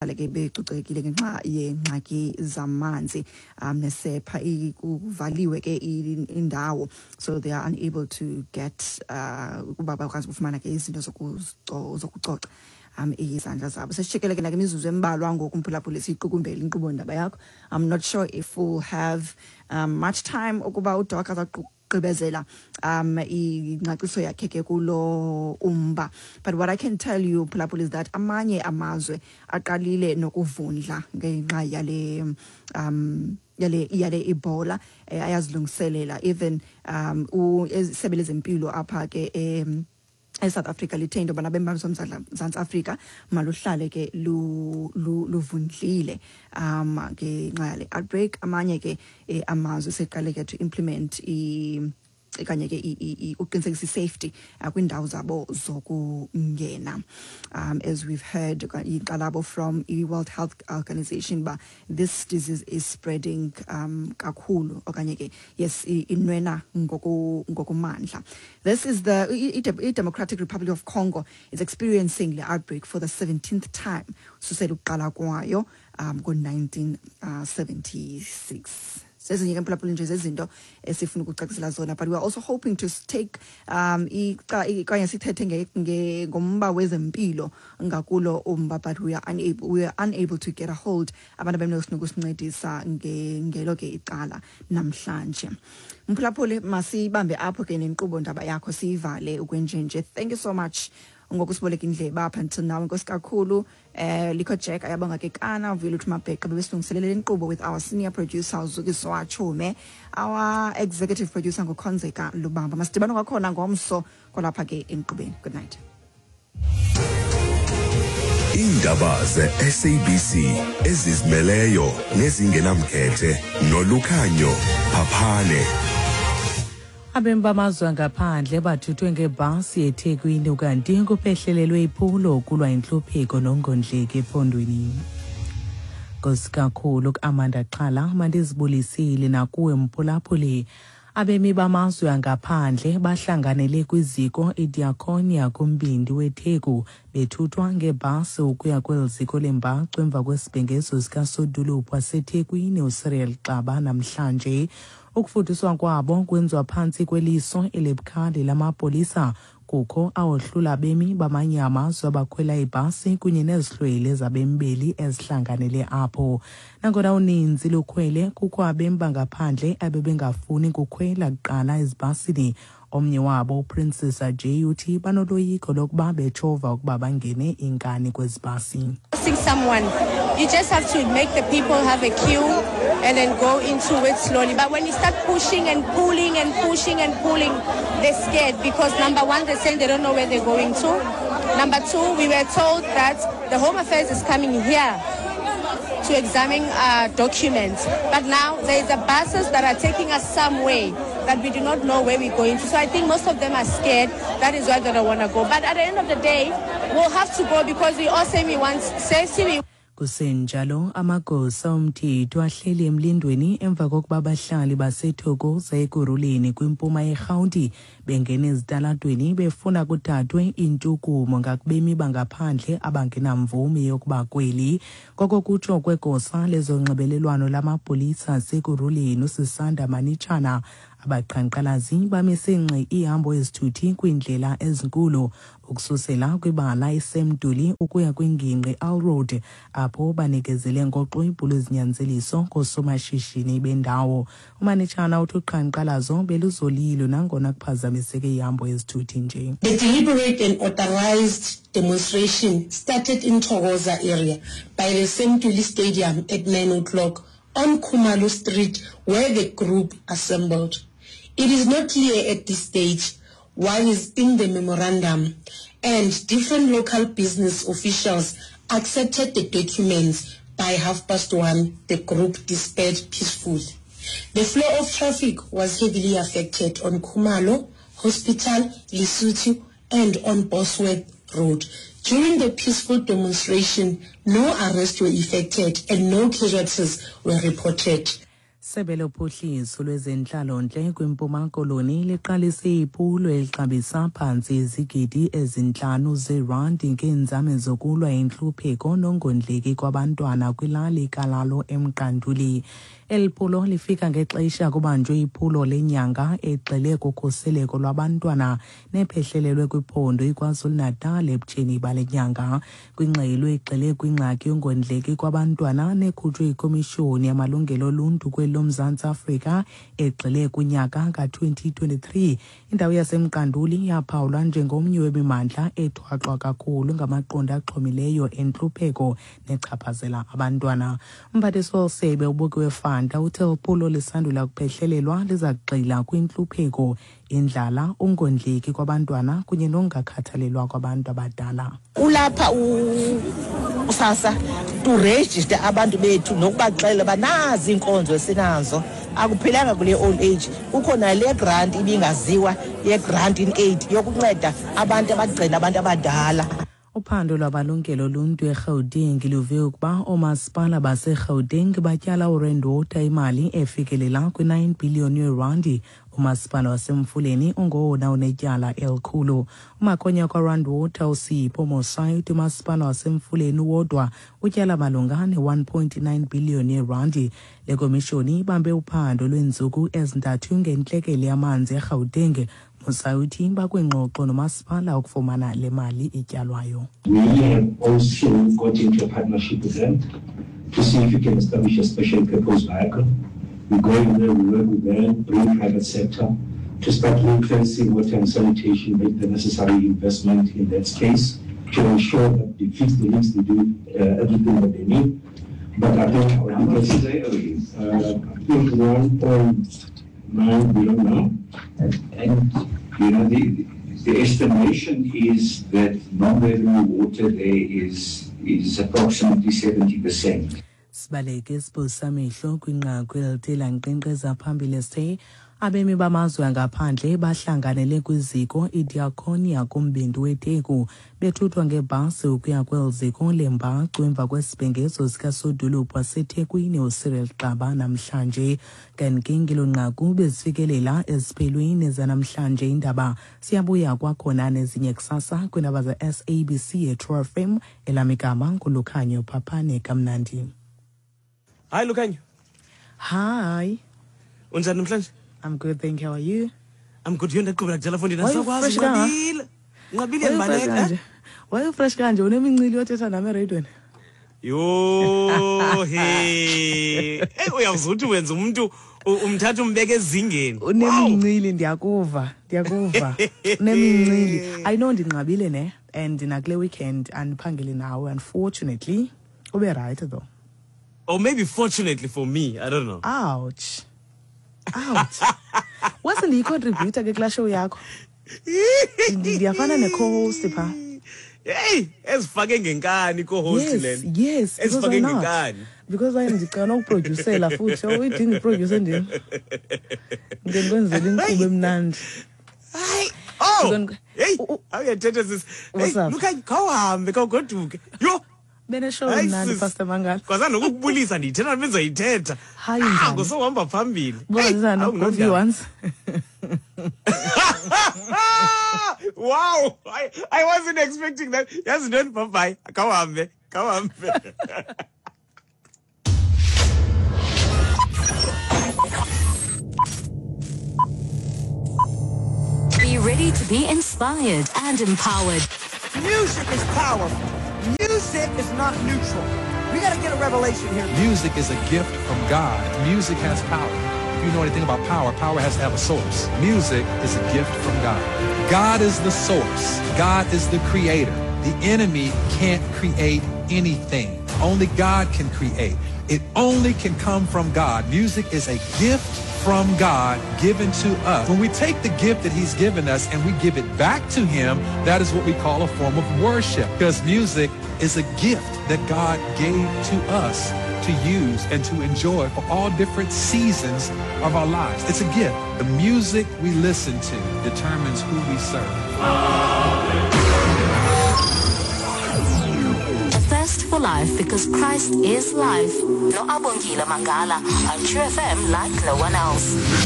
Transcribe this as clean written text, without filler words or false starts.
Ke becocekile ngenxa yeengxaki zamanzi nesepha, kuvaliwe ke indawo, so they are unable to get ukuba bakwazi ukufumana ke izinto zokucoca izandla zabo. Sesishekele ke nakimizuzu embalwa ngoku, mphulaphuli, siyiqukumbele inkqubo ndaba yakho. I'm not sure if we'll have much time ukuba uDoc azaqugqibezela ingcaciso yakhe ke kulo umba, but what I can tell you, phulaphula, is that amanye amazwe aqalile nokuvundla ngenxa yale Ebola, ayazilungiselela. Even isebe lezempilo apha ke eSouth Africa lithe into yobana abemi baseMzantsi Afrika maluhlale ke luvundlile ngenxa yale outbreak. Amanye ke amazwe seqale ke to implement kanye ke uqinisekisa i-safety kwiindawo zabo zokungena, as we've heard inkxalabo from i-World Health Organization ba this disease is spreading kakhulu, okanye ke yes, inwena ngokumandla. This is the i-Democratic Republic of Congo is experiencing the outbreak for the 17th time susela ukuqala kwayo ngo-1976. Zezinye ke, mphulaphuli, nje zezinto esifuna ukucacisela zona, but we are also hoping to take okanye sithethe ngomba wezempilo ngakulo umba, but we are unable to get a hold abantu abenokusincedisa ngelo ke icala namhlanje. Mphulaphuli, masibambe apho ke nenkqubo ndaba yakho, siyivale ukwenjenje. Thank you so much ngokusiboleka indlebe up until now. Enkosi kakhulu. Likho Jack, Ayabonga Kekana, Vuyeluthu Mabheqa bebesilungiselele inkqubo with our senior producer uZukiswa Chume, our executive producer nguKhonzeka Lubamba. Masidibane kwakhona ngomso kwalapha ke enkqubeni. Good night. Iindaba ze-SABC ezizimeleyo nezingenamkhethe noLukhanyo Phaphane. Abemi bamazwe angaphandle bathuthwe ngebhasi eThekwini, kanti kuphehlelelwe iphulo kulwa intlupheko nongondleki ephondweni. Nkosi kakhulu kuAmanda Xhala, mandizibulisile nakuwe mphulaphuli. Abemi bamazwe angaphandle bahlanganele kwiziko iDiakonia kumbindi weTheku bethuthwa ngebhasi ukuya kweli ziko lembacu emva kwesibhengezo sikasodolophu waseThekwini uCyril Xaba namhlanje. Ukufuduswa kwabo kwenziwa phantsi kweliso elibukhali lamapolisa, kukho awohlula abemi bamanye amazwe abakhwela ibhasi kunye nezihlwele zabemi ezihlanganele apho. Nangona uninzi lukhwele, kukho abemi bangaphandle abebengafuni kukhwela kuqala ezibhasini. Omnye wabo, uPrincess J, uthi banoloyiko lokuba betshova ukuba bangene inkani kwezi bhasi. Seeing someone, you just have to make the people have a queue and then go into it slowly. But when you start pushing and pulling and pushing and pulling, they're scared because, number one, they're saying they don't know where they're going to. Number two, we were told that the Home Affairs is coming here to examine documents. But now there is a buses that are taking us somewhere that we do not know where we're going to. So I think most of them are scared. That is why they don't want to go. But at the end of the day, we'll have to go because we all say we want safety. We Kusenjalo, amagosa omthetho ahleli emlindweni emva kokuba abahlali baseThokoza eKurhuleni kwimpuma yeRhawuti bengena ezitalatweni befuna kuthathwe intshukumo ngakubemi bangaphandle abangenamvume yokuba kweli. Koko kutsho kwegosa lezonxibelelwano lamapolisa aseKurhuleni uSisanda Manitshana, abaqhankqalazi bamise ngxi ihambo ezithuthi kwiindlela ezinkulu ukususela kwibala iSam Ntuli ukuya kwingingqi Alrode, apho banikezele ngoxwebhu lwezinyanzeliso koosomashishini bendawo. UManitshana uthi uqhankqalazo beluzolile nangona kuphazamiseke ihambo yezithuthi nje. The deliberate and authorized demonstration started in Thokoza area by the Sam Ntuli Stadium at 9 o'clock on Khumalo Street, where the group assembled. It is not clear at this stage what is in the memorandum, and different local business officials accepted the documents. By 1:30, the group dispersed peacefully. The flow of traffic was heavily affected on Khumalo, Hospital, Lesotho, and on Bosworth Road. During the peaceful demonstration, no arrests were effected and no casualties were reported. Sebe lophuhliso lwezentlalontle kwiMpuma Koloni liqalise iphulo elixabisa phantsi izigidi 5 zeerandi ngeenzame zokulwa intlupheko nongondleki kwabantwana kwilali Kalalo eMqanduli. Eli phulo lifika ngexesha kubanjwe iphulo lenyanga egxile kukhuseleko lwabantwana nephehlelelwe kwiphondo iKwaZulu-Natal ebutsheni bale nyanga. Kwingxelo egxile kwingxaki yongondleki kwabantwana nekhutshwe yiKomishoni yaMalungelo Oluntu kweli loMzantsi Afrika egxile kunyaka ka-2023, indawo yaseMqanduli yaphawulwa njengomnye wemimandla ethwaxwa kakhulu ngamaqondo axhomileyo entlupheko nechaphazela abantwana. Umphathiswa wesebe uBukiwe Fanta uthe uphulo lisandula kuphehlelelwa liza kugxila kwintlupheko, indlala, ungondleki kwabantwana kunye nokungakhathalelwa kwabantu abadala. Ulapha uSASSA to register abantu bethu nokubaxelela uba nazi iinkonzo esinazo. Akuphelanga kule old age, kukho nale grant ibingaziwa ye-grant in aid yokunceda abantu abagcina abantu abadala. Uphando lwabalungelo oluntu eGauteng luve ukuba oomasipala baseGauteng batyala uRand Water imali efikelela kwi-9 billion yeerandi. Umasipala waseMfuleni ungowona unetyala elikhulu. Umakhonya kwaRand Water uSipho Mosai uthi umasipala waseMfuleni wodwa utyala malunga ne-1.9 billion yeerandi. Le komishoni ibambe uphando lweentsuku ezintathu ngentlekele yamanzi eGauteng. Mosai uthi bakwingxoxo nomasipala ukufumana le mali ityalwayo. We have also got into a partnership with them to see if we can establish a special purpose vehicle. We go in there, we work with them, bring private sector to start ring-fencing water and sanitation, make the necessary investment in that space to ensure that they fix the leaks, they do everything that they need. But I think How much do they owe you? I think 1.9 billion now. And you know, the estimation is that non-revenue water there is approximately 70%. Sibaleke siphosa amehlo kwinqaku elithe lankqenkqeza phambili sithe abemi bamazwe angaphandle bahlanganele kwiziko iDiakonia kumbindi weTheku bethuthwa ngebhasi ukuya kweli ziko lembacu emva kwesibhengezo sikasodolophu waseThekwini uCyril Xaba namhlanje. Kanti ngelo nqaku bezifikelela eziphelweni zanamhlanje indaba. Siyabuya kwakhona nezinye kusasa kwiindaba ze-SABC eTrue FM. Elam igama nguLukhanyo Phaphane. Kamnandi. Hi Lukhanyo. Hi. Unjani namhlanje? I'm good, thank you. How are you? I'm good. Yho, ndaqhubela kudala fondini. Why you Andisakwazi, fresh kangaka? nqabile. Nqabile Why you fresh ndibaleka. kanje? Why you fresh kanje? Unemincili yothetha nam ereyidweni. Yho, he. Hey, uyawuzuthi wenza umuntu umthatha umbeke ezingeni. Wow. Unemincili, ndiyakuva. Ndiyakuva. Unemincili. I know ndinqabile ne, and nakule weekend andiphangeli nawe, unfortunately. Ube right though. Or maybe fortunately for me, I don't know. Ouch. Ouch. Wase ndiyi-contributor ke kulaa show yakho. Ndiyafana ne-co-host pha. Hey, ezifake ngenkani co-host Yes, lena. yes, because Ezifake why not? ngenkani. Because why ndicela ukuproducela futhi. Uyidinga iproducer ndim. Ngike ndikwenzele inkqubo emnandi. Hayi. Oh. Hey, awuyathetha sis. Hey, What's up? Lukhanyo, khawuhambe, khawugoduke. Yho. Bene-show Hayi, emnandi, sis. Pastor Mangala. Kwazana nokukubulisa ndiyithetha bendizayithetha. Hayi, Ah, njani? ngosohamba phambili. Bona Hey, njani? awu, Go view nondaba. once. Wow, I wasn't expecting that. Yazi ntoni, bye bye. Khawuhambe, khawuhambe. Be ready to be inspired and empowered. Music is powerful. Music is not neutral. We got to get a revelation here. Music is a gift from God. Music has power. If you know anything about power, power has to have a source. Music is a gift from God. God is the source. God is the creator. The enemy can't create anything. Only God can create. It only can come from God. Music is a gift from God given to us. When we take the gift that he's given us and we give it back to him, that is what we call a form of worship, because music is a gift that God gave to us to use and to enjoy for all different seasons of our lives. It's a gift. The music we listen to determines who we serve. A thirst for life because Christ is life. No Abongile Mangala on True FM like no one else.